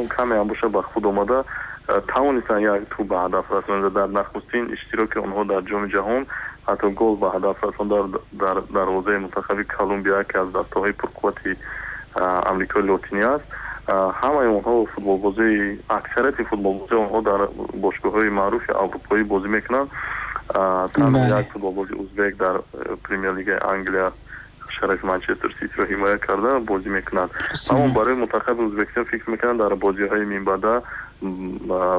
Каме ҳам боша ба худ омада тавонистанд як тӯб ба ҳадаф расонанд. Дар нахустин иштироки онҳо дар Ҷоми ҷаҳон ҳатто гол ба ҳадаф расонд дар дарвозаи мунтахаби Колумбия, ки аз дастаҳои пурқуввати Амрикои Лотинӣ аст. Ҳамаи онҳо футболбозии, аксарияти футболбозии онҳо дар бошгоҳҳои маъруфи аврупоӣ бозӣ мекунанд. Танҳо як футболбози узбек дар Премер-лигаи Англия шарафи Манчестер Ситиро ҳимоя карда бозӣ мекунад. Аммо барои мунтахаби Ӯзбекистон фикр мекунам, дар бозиҳои минбаъда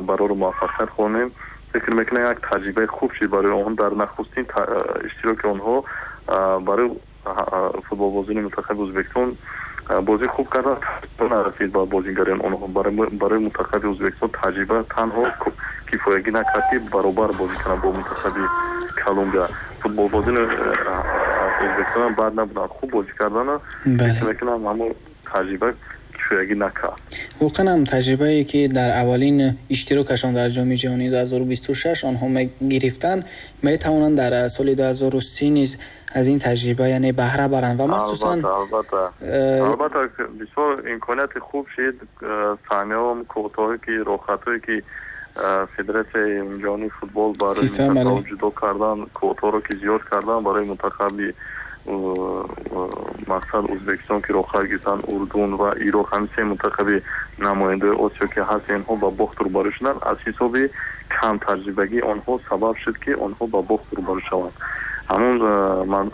барору муваффақият хонем. Фикр мекунам, як таҷрибаи хуб шуд барои онҳо дар нахустин иштироки онҳо. Барои футболбозони мунтахаби Ӯзбекистон бозӣ хуб кардан нарасид ба бозигарони онҳо. Барои мунтахаби Ӯзбекистон таҷриба танҳо кифоягӣ накард, ки баробар бозӣ кунанд бо мунтахаби Колумбия. Футболбозони Ӯзбекистон бад набуданд, хуб бозӣ карданд. Фикр мекунам, ҳамон таҷриба кифоягӣ накард. Воқеан ҳам, таҷрибае ки дар аввалин иштирокашон дар Ҷоми ҷаҳонии 2026 онҳо гирифтанд, метавонанд дар соли 2030 низ аз ин таҷриба, яъне, баҳра баранд ва махсусан Албатта, бисёр имконияти хуб шид. Саҳмияҳо, квотаҳое ки, роҳхатҳое ки Федератсияи ҷаҳонии футбол барои мунтахаб ҷудо кардан, квотаҳоро ки зиёд кардан барои мунтахаби, мақсад, Ӯзбекистон ки роҳхат гирифтанд, Урдун ва Ироқ, ҳамин се мунтахаби намояндаи Осиё ки ҳаст, инҳо ба бохт рӯбарӯ шуданд. Аз ҳисоби камтаҷрибагии онҳо сабаб шуд, ки онҳо ба бохт рӯбарӯ шаванд. Ҳамон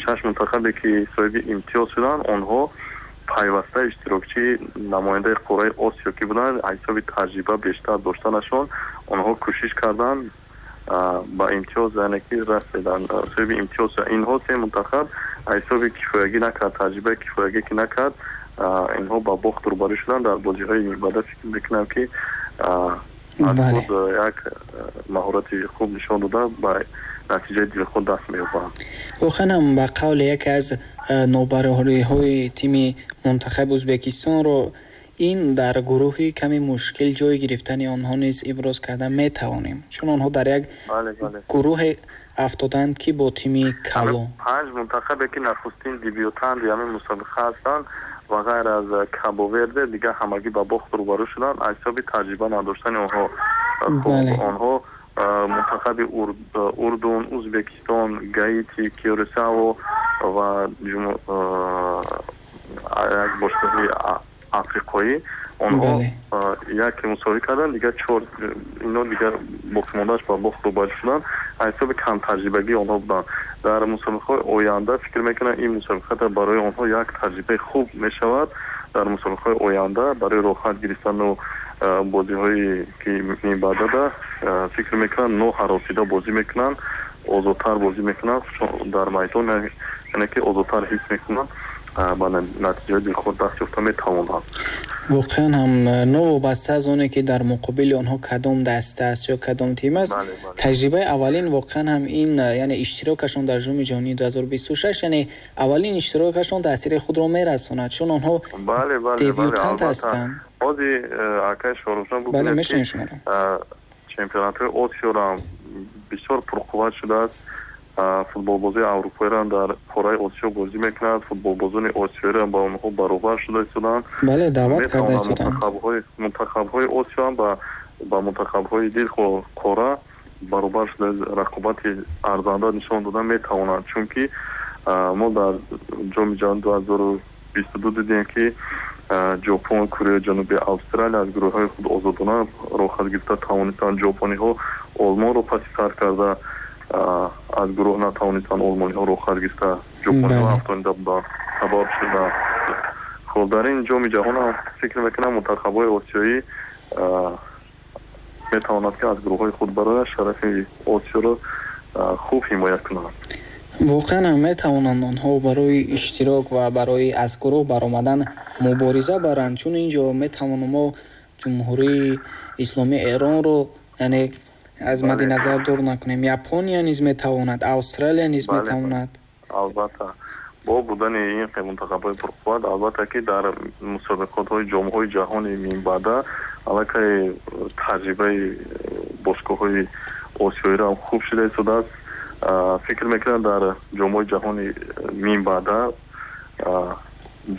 шаш мунтахабе ки соҳиби имтиёз шуданд, онҳо пайваста иштирокчии намояндаи қораи Осиё ки буданд, аз ҳисоби таҷриба бештар доштанашон онҳо кӯшиш карданд, ба имтиёз, яъне ки расиданд, соҳиби имтиёз. Инҳо се мунтахаб аз ҳисоби кифоягӣ накард, таҷрибаи кифоягӣ ки накард, инҳо ба бохт рӯбарӯ шуданд. Дар бозиҳои минбаъда фикр мекунам, ки аз худ як маҳорати хуб нишон дода, ба натиҷаи дилхоҳ даст меёбанд. Воқеан ҳам, ба қавли яке аз нобарориҳои тими мунтахаби Ӯзбекистонро ин дар гурӯҳи каме мушкил ҷой гирифтани онҳо низ иброз карда метавонем, чун онҳо дар як гурӯҳе афтоданд, ки бо тими калон. Панҷ мунтахабе ки нахустин дебютанти ҳамин мусобиқа ҳастанд ва ғайр аз Кабо-Верде дигар ҳамагӣ ба бохт рӯбарӯ шуданд аз ҳисоби таҷриба надоштани онҳо. Онҳо мунтахаби Урдун, Ӯзбекистон, Гаити, Кюрасао ва як бошгоҳи африқоӣ, онҳо яке мусовӣ карданд, дигар чор ино дигар боқимондааш ба бохт рӯбарӯ шуданд, аз ҳисоби камтаҷрибагии онҳо буданд. Дар мусобиқаҳои оянда фикр мекунам, ин мусобиқа барои онҳо як таҷрибаи хуб мешавад. Дар мусобиқаҳои оянда барои роҳхат гирифтану бозиҳое ки минбаъдада, фикр мекунам, ноҳаросида бозӣ мекунанд, озодтар бозӣ мекунанд дар майдон, яъне ки озодтар ҳис мекунанд, ба натиҷаи дилхоҳ даст ёфта метавонанд. Воқеан ҳам, новобаста аз оне ки дар муқобили онҳо кадом даста аст ё кадом тим аст, таҷрибаи аввалин, воқеан ҳам ин, яъне иштирокашон дар Ҷоми ҷаҳонии 2026, яъне аввалин иштирокашон таъсири худро мерасонад, чун онҳо дебютант ҳастанд. Ҳозир, акай Шоҳрухҷон, бубинед, ки чемпионатҳои Осиёро ҳам бисёр пурқувват шудааст. Футболбозии аврупоиро дар қораи Осиё бозӣ мекунад, футболбозони осиёиро ба онҳо баробар шуда истоданд. Бале, даъват карда истоданд. Мунтахабҳои Осиё ҳам ба мунтахабҳои дилхоҳ қора баробар шуда, рақобати арзанда нишон дода метавонанд, чунки мо дар Ҷоми ҷаҳон 2022 дидем, ки Ҷопон, Кореяи Ҷанубӣ, Австралия аз гурӯҳҳои худ озодона роҳхат гирифта тавонистанд. Ҷопониҳо Олмонро паси сар карда, аз гурӯҳ натавонистанд олмониҳо роҳхат гирифта, ҷопониҳо афтонида буданд, сабаб шуданд. Хоб, дар ин Ҷоми ҷаҳон ҳам фикр мекунам, мунтахабҳои осиёӣ метавонад, ки аз гурӯҳҳои худ барояд, шарафи Осиёро хуб ҳимоя кунанд. Воқеан ҳам, метавонанд онҳо барои иштирок ва барои аз гурӯҳ баромадан мубориза баранд, чун ин ҷо метавонем мо Ҷумҳурии Исломии Эронро, яъне, аз мадди назар дур накунем. Япония низ метавонад, Австралия низ метавонад. Албатта, бо будани ин мунтахабҳои пурқувват, албатта ки дар мусобиқотҳои ҷомҳои ҷаҳони минбаъда аллакай таҷрибаи бошгоҳҳои осиёиро ҳам хуб шуда истодааст. Фикр мекунам, дар ҷомҳои ҷаҳони минбаъда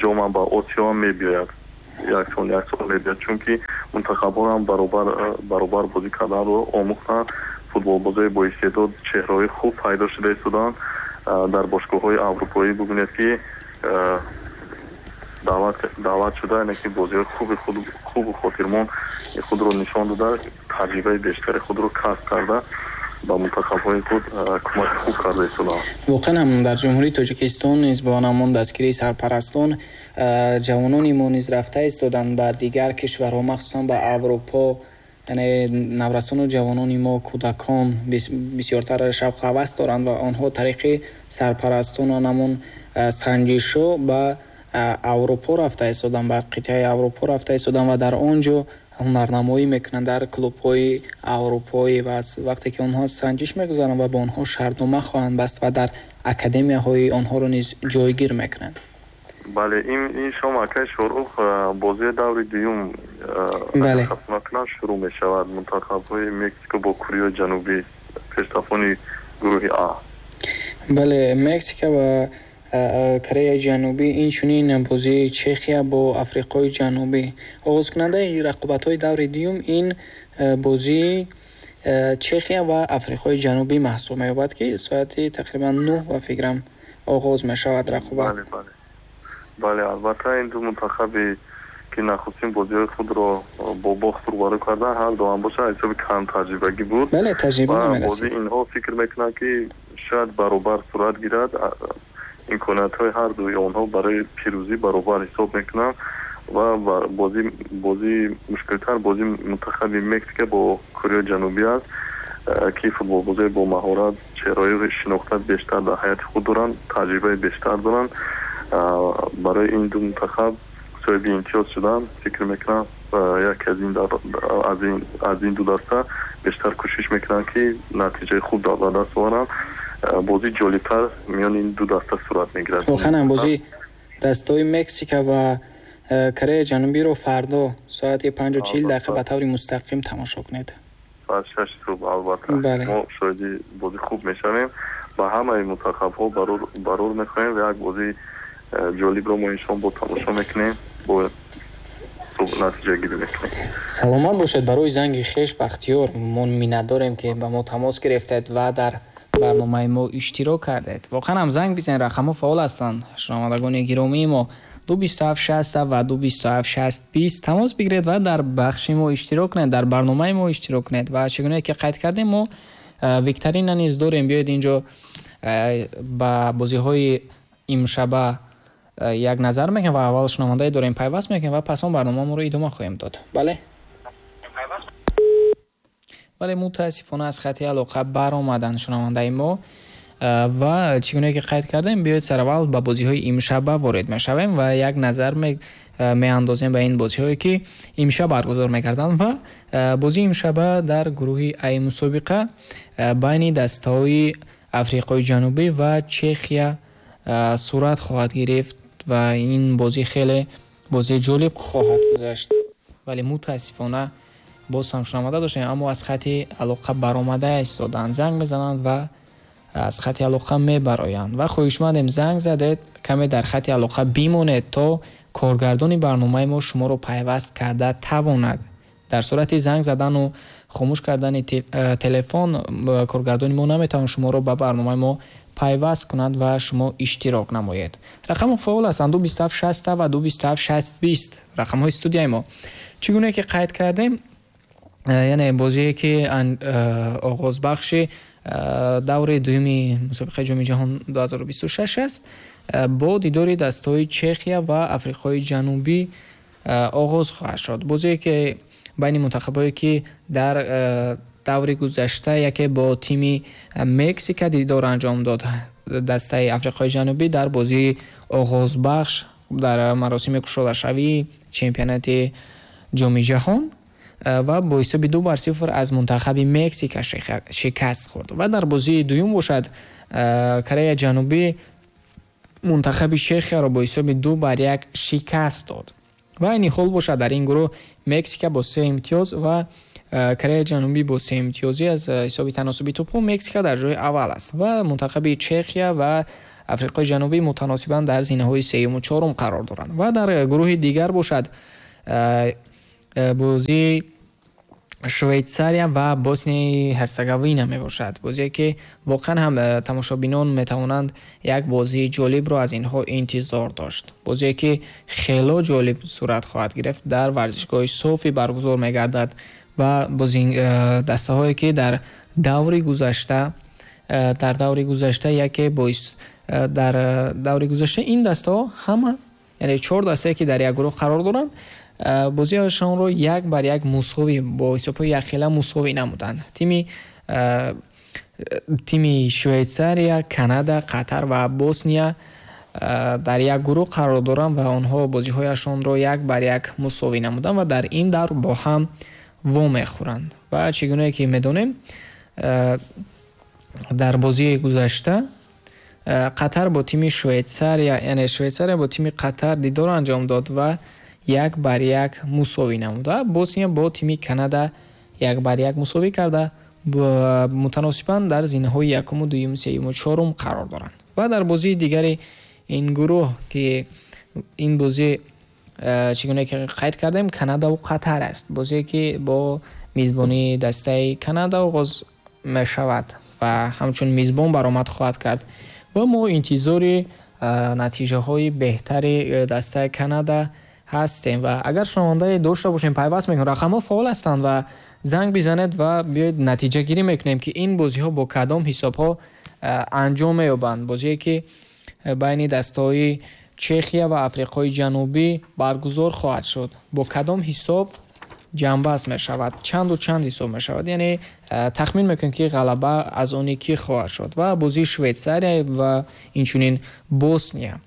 ҷомам ба Осиё ҳам мебиёяд, як сол, як сол мебиёяд, чунки Мунтахабҳо ҳам баробар бозӣ карданро омӯхтанд. Футболбозои боистеъдод, чеҳраҳои хуб пайдо шуда истоданд. Дар бошгоҳҳои аврупоӣ бубинед, ки даъват шуда, яъне ки бозиҳои хуби хубу хотирмон худро нишон дода, таҷрибаи бештари худро касб карда, ба мунтахабҳои худ кӯмаки хуб карда истоданд. Воқеан ҳам дар Ҷумҳурии Тоҷикистон низ бо ҳамон дастгирии сарпарастон ҷавонони мо низ рафта истоданд ба дигар кишварҳо, махсусан ба Аврупо. Яъне наврасону ҷавонони мо, кӯдакон бисёртар шавқу ҳавас доранд ва онҳо тариқи сарпарастону ҳамон санҷишҳо ба Аврупо рафта истоданд, ба қитъаи Аврупо рафта истоданд ва дар он ҷо ҳунарнамоӣ мекунанд дар клубҳои аврупоӣ. Ва вақте ки онҳо санҷиш мегузаранд ва бо онҳо шартнома хоҳанд баст ва дар академияҳои онҳоро низ ҷойгир мекунанд. Бале, ин шом, акай Шорух, бозии даври дуюм хато накунам шурӯъ мешавад. Мунтахабҳои Мексико бо Кореяи Ҷанубӣ, пештафони гурӯҳи А. Бале, Мексика ва Кореяи Ҷанубӣ, инчунин бозии Чехия бо Африқои Ҷанубӣ. Оғозкунандаи рақобатҳои даври дуюм ин бозии Чехия ва Африқои Ҷанубӣ маҳсуб меёбад, ки соати тақрибан 9, ба фикрам, оғоз мешавад рақобат. Бале, албатта, ин ду мунтахабе ки нахустин бозиҳои худро бо бохт рӯбарӯ карданд, ҳар дуам бошад, ҳисоби кам таҷрибагӣ буд. Бале, таҷриба намерасид. Бозии инҳо фикр мекунанд, ки шояд баробар сурат гирад. Имкониятҳои ҳар дуи онҳо барои пирӯзӣ баробар ҳисоб мекунанд ва бозии мушкилтар бозии мунтахаби Мексика бо Кореяи Ҷанубӣ аст, ки футболбозои бо маҳорат, чеҳраҳои шинохта бештар дар ҳайати худ доранд, таҷрибаи бештар доранд. Барои ин ду мунтахаб соҳиби имтиёз шудан, фикр мекунам, яке аз ин ду даста бештар кӯшиш мекунанд, ки натиҷаи хуб ба даст оваранд. Бозии ҷолибтар миёни ин ду даста сурат мегирад. Воқеан ҳам бозии дастаҳои Мексика ва Кореяи Ҷанубиро фардо соати 5:40 ба таври мустақим тамошо кунед. Соат 6 субҳ, албатта. Мо шоҳиди бози хуб мешавем. Ба ҳамаи мунтахабҳо барор мехоҳем ва як бозии ҷолибро мо иншон бо тамошо мекунем, бо натиҷагирӣ мекунем. Саломат бошед барои занги хеш, Бахтиёр. Мо миннатдорем, ки ба мо тамос гирифтед ва дар барномаи мо иштирок кардед. Воқеан ҳам занг бизанед, рақамҳо фаъол ҳастанд. Шунавандагони гиромии мо, 2 27 60 ва 2 27 60 20 тамос бигиред ва дар бахши мо иштирок кунед, дар барномаи мо иштирок кунед. Ва чӣ гуна ки қайд кардем, мо викторина низ дорем. Биёед, инҷо ба бозиҳои имшаба як назар мекунем ва аввал шунавандае дорем, пайваст мекунем ва пас он барномаамонро идома хоҳем дод. Бале, мутаассифона, аз хати алоқа баромаданд шунавандаи мо. Ва чӣ гуна ки қайд кардем, биёед, сараввал ба бозиҳои имшаба ворид мешавем ва як назар меандозем ба ин бозиҳое, ки имшаб баргузор мекарданд. Ва бозии имшаба дар гурӯҳи Ай мусобиқа байни дастаҳои Африқои Ҷанубӣ ва Чехия сурат хоҳад гирифт ва ин бозӣ хеле бозии ҷолиб хоҳад гузашт. Вале мутаассифона, боз ҳам шунаванда доштем, аммо аз хати алоқа баромада истоданд. Занг мезананд ва аз хати алоқа мебароянд. Ва хоҳишмандем, занг задед, каме дар хати алоқа бимонед, то коргардони барномаи мо шуморо пайваст карда тавонад. Дар сурати занг задану хомӯш кардани телефон коргардони мо наметавонад шуморо ба барномаи мо пайваст кунад ва шумо иштирок намоед. Рақамҳо фаъол ҳастанд: 2 27 60 ва 2 27 60 20, рақамҳои студияи мо. Чӣ гуна ки қайд кардем, яъне бозие ки оғозбахши даври дуюми мусобиқаи Ҷоми ҷаҳон 2026 аст, бо дидори дастаҳои Чехия ва Африқои Ҷанубӣ оғоз хоҳад шуд. Бозие ки байни мунтахабҳое, ки дар даври гузашта яке бо тими Мексика дидор анҷом дод, дастаи Африқои Ҷанубӣ дар бозии оғозбахш дар маросими кушодашавии чемпионати Ҷоми ҷаҳон ва бо ҳисоби 2 бар 0 аз мунтахаби Мексика шикаст хӯрд. Ва дар бозии дуюм бошад, Кореяи Ҷанубӣ мунтахаби Чехияро бо ҳисоби 2 бар 1 шикаст дод. Ва айни ҳол бошад, дар ин гурӯҳ Мексика бо се имтиёз ва Кореяи Ҷанубӣ бо се имтиёзӣ, аз ҳисоби таносуби тӯбҳо Мексика дар ҷои аввал аст ва мунтахаби Чехия ва Африқои Ҷанубӣ мутаносибан дар зинаҳои сеюму чорум қарор доранд. Ва дар гурӯҳи дигар бошад, Бозии Швейтсария ва Боснияи Ҳерцеговина мебошад. Бозие, ки воқеан ҳам тамошобинон метавонанд як бозии ҷолибро аз инҳо интизор дошт. Бозие, ки хело ҷолиб сурат хоҳад гирифт, дар варзишгоҳи Софи баргузор мегардад ва дастаҳое, ки дар даври гузашта яке боис дар даври гузашта ин дастаҳо ҳама, яъне чор дастае, ки дар як гурӯҳ қарор доранд, бозиашонро 1-1 мусовӣ, бо ҳисобҳои якхела мусовӣ намуданд. Тими Швейтсария, Канада, Қатар ва Босния дар як гурӯҳ қарор доранд ва онҳо бозиҳояшонро 1-1 мусовӣ намуданд ва дар ин давр бо ҳам вомехӯранд. Ва чӣ гунае ки медонем, дар бозии гузашта Қатар бо тими Швейтсария, яъне Швейтсария бо тими Қатар дидор анҷом дод ва 1-1 мусовӣ намуд ва Босния бо тими Канада 1-1 мусовӣ карда, мутаносибан дар зинаҳои якуму дуюму сеюму чорум қарор доранд. Ва дар бозии дигари ин гурӯҳ, ки ин бозӣ, чӣ гуна ки қайд кардем, Канадаву Қатар аст, бозие, ки бо мизбонии дастаи Канада оғоз мешавад ва ҳамчун мизбон баромад хоҳад кард ва мо интизори натиҷаҳои беҳтари дастаи Канада ҳастем. Ва агар шунавандае дошта бошем, пайваст мекунем, рақамҳо фаъол ҳастанд ва занг бизанед ва биёед, натиҷагирӣ мекунем, ки ин бозиҳо бо кадом ҳисобҳо анҷом меёбанд. Бозие, ки байни дастаҳои Чехия ва Африқои Ҷанубӣ баргузор хоҳад шуд, бо кадом ҳисоб ҷамъбаст мешавад, чанду чанд ҳисоб мешавад, яъне тахмин мекунем, ки ғалаба аз они кӣ хоҳад шуд. Ва бозии Швейтсария ва инчунин Босния,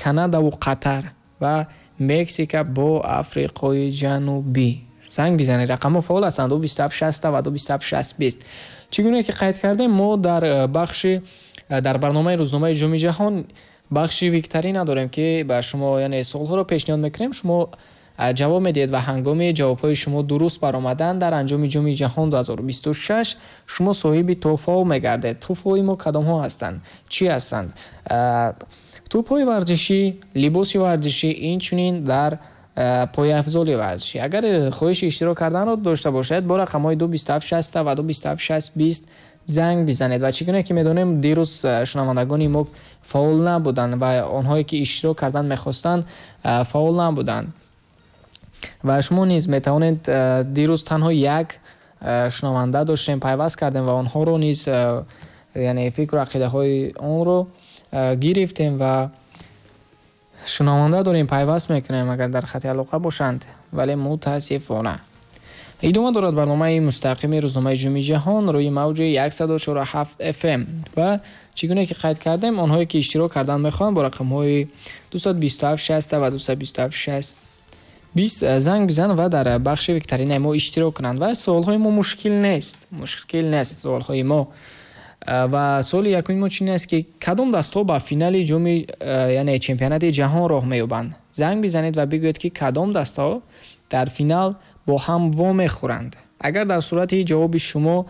Канадаву Қатар ва Мексика бо Африқои Ҷанубӣ. Занг бизанед, рақамҳо фаъол ҳастанд: 227 60 ва 227 60 20. Чӣ гуна ки қайд кардем, мо дар бахши дар барномаи рӯзномаи Ҷоми ҷаҳон бахши викторина дорем, ки ба шумо, яъне суолҳоро пешниҳод мекунем, шумо ҷавоб медиҳед ва ҳангоми ҷавобҳои шумо дуруст баромадан, дар анҷоми Ҷоми ҷаҳон 2026 шумо соҳиби тӯҳфаҳо мегардед. Тӯҳфаҳои мо кадомҳо ҳастанд, чӣ ҳастанд? Тӯбҳои варзишӣ, либоси варзишӣ, инчунин дар пойафзоли варзишӣ. Агар хоҳиши иштирок карданро дошта бошед, бо рақамҳои 227 60 ва 227 60 20 занг бизанед. Ва чӣ гуна ки медонем, дирӯз шунавандагони мо фаъол набуданд ва онҳое, ки иштирок кардан мехостанд, фаъол набуданд ва шумо низ метавонед. Дирӯз танҳо як шунаванда доштем, пайваст кардем ва онҳоро низ, яъне фикру ақидаҳои онро гирифтем. Ва шунаванда дорем, пайваст мекунем, агар дар хати алоқа бошанд, вале мутаассифона. Идома дорад барномаи мустақими рӯзномаи Ҷоми ҷаҳон рӯи мавҷи 104,7 FM. Ва чӣ гуна ки қайд кардем, онҳое, ки иштирок кардан мехоҳанд, бо рақамҳои 227 60 ва 227 60 20 занг бизананд ва дар бахши викторинаи мо иштирок кунанд. Ва суолҳои мо мушкил нест, мушкил нест суолҳои мо. Ва суоли якуми мо чунин аст, ки кадом дастҳо ба финали ҷоми, яъне чемпионати ҷаҳон роҳ меёбанд? Занг бизанед ва бигӯед, ки кадом дастаҳо дар финал бо ҳам вомехӯранд. Агар дар сурати ҷавоби шумо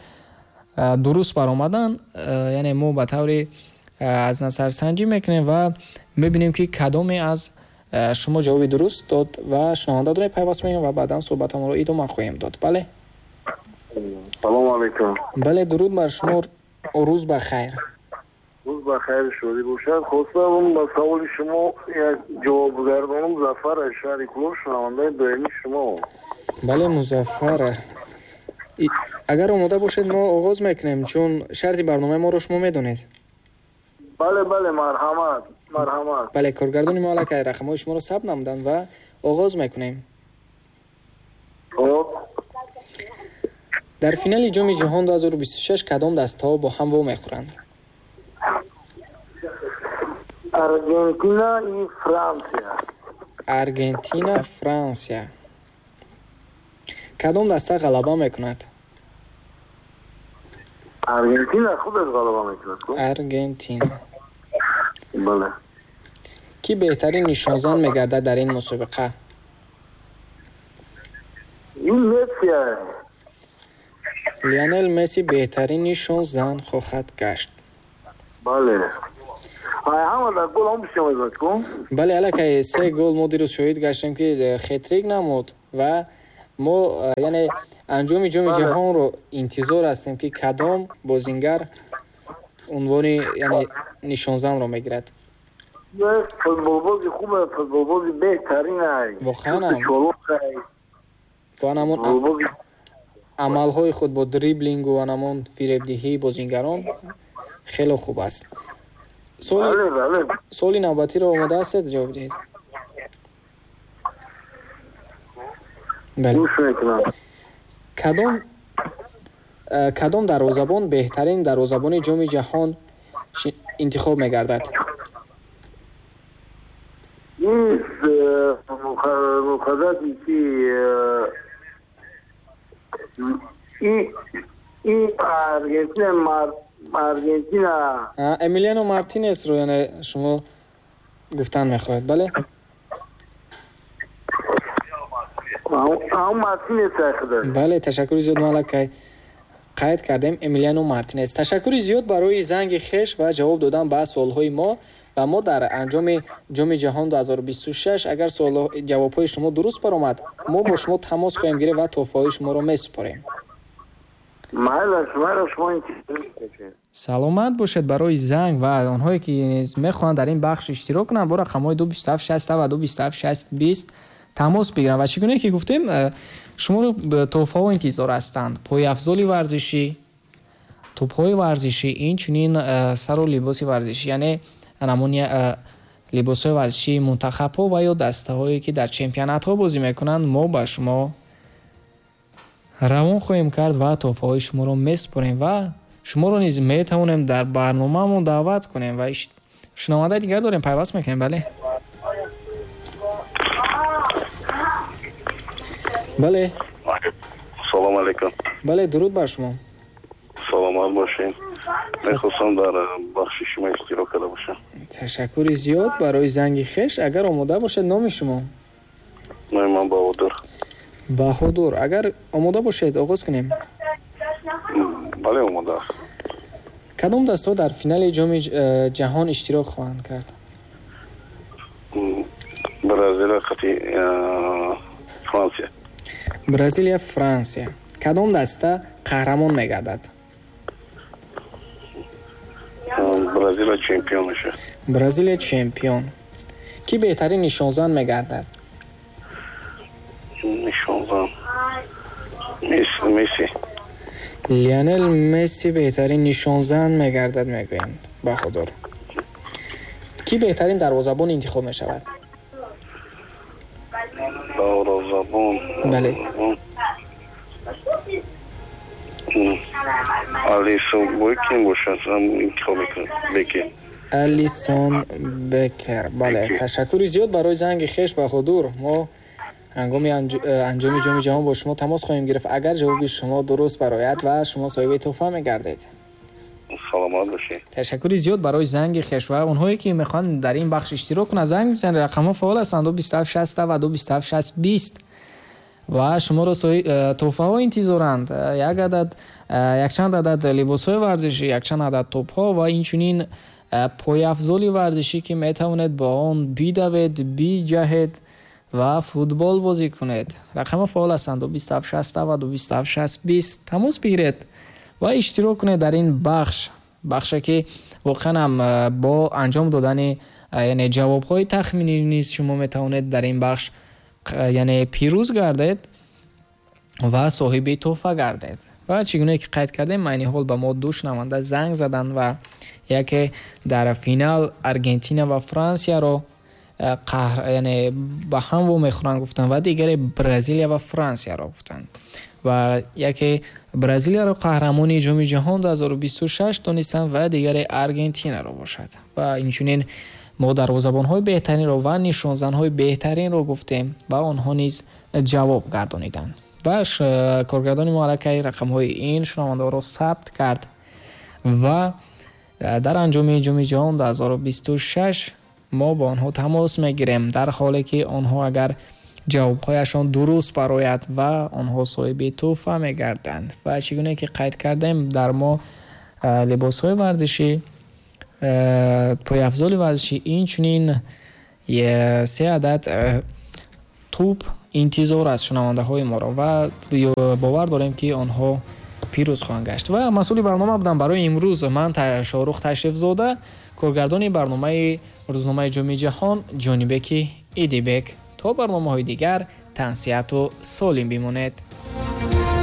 дуруст баромадан, яъне мо ба таври аз назарсанҷӣ мекунем ва мебинем, ки кадоме аз шумо ҷавоби дуруст дод. Ва шунаванда дорем, пайваст мекунем ва баъдан суҳбатамонро идома хоҳем дод. Бале. Салому алайкум. Бале, дуруд бар шумо, рӯз ба хайр. Рӯз ба хайр, шодӣ бошад. Хостам ба саволи шумо як ҷавоб гардонам. Зафар аз шаҳри Кӯлоб, шунавандаи доимии шумо. Бале, Музаффар, агар омода бошед, мо оғоз мекунем, чун шарти барномаи моро шумо медонед. Бале, марҳамат, марҳамат. Бале, коргардони мо аллакай рақамҳои шуморо сабт намуданд ва оғоз мекунем. Хоб. Дар финали Ҷоми ҷаҳон 2026 кадом дастаҳо бо ҳам вомехӯранд? Аргентина и Франсия. Аргентина, Франсия. Кадом даста ғалаба мекунад? Аргентина худаш ғалаба мекунад. Аргентина. Бале. Кӣ беҳтарин нишонзан мегардад дар ин мусобиқа? Ин Месси. Лионел Месси беҳтарин нишонзан хоҳад гашт. Бале, ҳама дар гол ҳам бисёр мезад ку. Бале, аллакай се гол мо дирӯз шоҳид гаштем, ки хетрик намуд ва Мо яъне анҷоми Ҷоми Ҷаҳонро интизор ҳастем, ки кадом бозингар унвони яъне нишонзанро мегирад. Футболбози хубе, футболбози беҳтарин ай. Воқеан ва ҳамон амалҳои худ бо дриблингу ва ҳамон фиребдиҳии бозингарон хеле хуб аст. Суоли навбатиро омода ҳастед ҷавоб диҳед? Бале. Кадом дарвозабон беҳтарин дарвозабони Ҷоми Ҷаҳон интихоб мегардад? Эмилиано Мартинесро яъне шумо гуфтан мехоҳед, бале? Бале, ташаккури зиёд, мо аллакай қайд кардем Эмилиано Мартинес. Ташаккури зиёд барои занги хеш ва ҷавоб додан ба суолҳои мо. Ва мо дар анҷоми Ҷоми Ҷаҳон 2026 агар ҷавобҳои шумо дуруст баромад, мо бо шумо тамос хоҳем гирифт ва тӯҳфаҳои шуморо месупорем. Саломат бошед барои занг ва онҳое ки низ мехоҳанд дар ин бахш иштирок кунанд, бо рақамҳои 227 60 ва 227 60 20 тамос бигиранд. Ва чӣ гуна ки гуфтем, шуморо тӯҳфаҳо интизор ҳастанд: пойафзоли варзишӣ, тӯбҳои варзишӣ, инчунин сару либоси варзишӣ, яъне намуни либосҳои варзишии мунтахабҳо ва ё дастаҳое ки дар чемпионатҳо бозӣ мекунанд, мо ба шумо равон хоҳем кард ва тӯҳфаҳои шуморо месупорем ва шуморо низ метавонем дар барномаамон даъват кунем. Ва шунавандаи дигар дорем, пайваст мекунем. Бале, бале. Салом алейкум. Бале, дуруд бар шумо. Саломат бошед. Мехостам дар бахши шумо иштирок карда бошам. Ташаккури зиёд барои занги хеш. Агар омода бошед, номи шумо? Номи ман Баҳодур. Баҳодур, агар омода бошед, оғоз кунем. Бале, омода аст. Кадом дастаҳо дар финали Ҷоми Ҷаҳон иштирок хоҳанд кард? Бразилия қати Франсия. Бразилия, Франсия. Кадом даста қаҳрамон мегардад? Бразилия чемпион мешавад. Бразилия чемпион. Кӣ беҳтарин нишонзан мегардад? Нишонзан Месси. Лионел Месси беҳтарин нишонзан мегардад, мегӯянд Баҳодур. Кӣ беҳтарин дарвозабон интихоб мешавад? Дарвозабон. Бале. Алисон Бекер бошад, интихоб мекунам. Бекер. Алисон Бекер. Бале, ташаккури зиёд барои занги хеш, Баҳодур. Мо ҳангоми анҷоми Ҷоми Ҷаҳон бо шумо тамос хоҳем гирифт. Агар ҷавоби шумо дуруст барояд ва шумо соҳиби тӯҳфа мегардед. Саломат бошед. Ташаккури зиёд барои занги хеш ва онҳое ки мехоҳанд дар ин бахш иштирок кунанд, занг бизанед. Рақамҳо фаъол ҳастанд: 227 60 ва 227 60 20 ва шуморо тӯҳфаҳо интизоранд. Як адад, якчанд адад либосҳои варзишӣ, якчанд адад тӯбҳо ва инчунин пойафзоли варзишӣ, ки метавонед бо он бидавед, биҷаҳед ва футбол бозӣ кунед. Рақамҳо фаъол ҳастанд: 227 60 ва 227 60 20. Тамос бигиред ва иштирок кунед дар ин бахш, бахше ки воқеан ҳам бо анҷом додани яъне ҷавобҳои тахминӣ низ шумо метавонед дар ин бахш яъне пирӯз гардед ва соҳиби тӯҳфа гардед. Ва чӣ гуна ки қайд кардем, айни ҳол ба мо ду шунаванда занг заданд ва яке дар финал Аргентина ва Франсияро яъне ба ҳам вомехӯранд гуфтанд ва дигаре Бразилия ва Франсияро гуфтанд. Ва яке Бразилияро қаҳрамони Ҷоми Ҷаҳон 2026 донистанд ва дигаре Аргентинаро бошад. Ва инчунин мо дарвозабонҳои беҳтаринро ва нишонзанҳои беҳтаринро гуфтем ва онҳо низ ҷавоб гардониданд. Ва коргардони мо аллакай рақамҳои ин шунавандаҳоро сабт кард ва дар анҷоми Ҷоми Ҷаҳон 2026 мо бо онҳо тамос мегирем, дар ҳоле ки онҳо агар ҷавобҳояшон дуруст барояд ва онҳо соҳиби тӯҳфа мегарданд. Ва чӣ гуна ки қайд кардем, дар мо либосҳои варзишӣ, пойафзоли варзишӣ, инчунин се адад тӯб Интизор аст шунавандаҳои моро ва бовар дорем, ки онҳо пирӯз хоҳанд гашт. Ва масъули барнома будам барои имрӯз ман, Шоҳрух Ташрифзода, коргардони барномаи рӯзномаи Ҷоми Ҷаҳон Ҷонибеки Идибек. То барномаҳои дигар тансиҳату солим бимонед.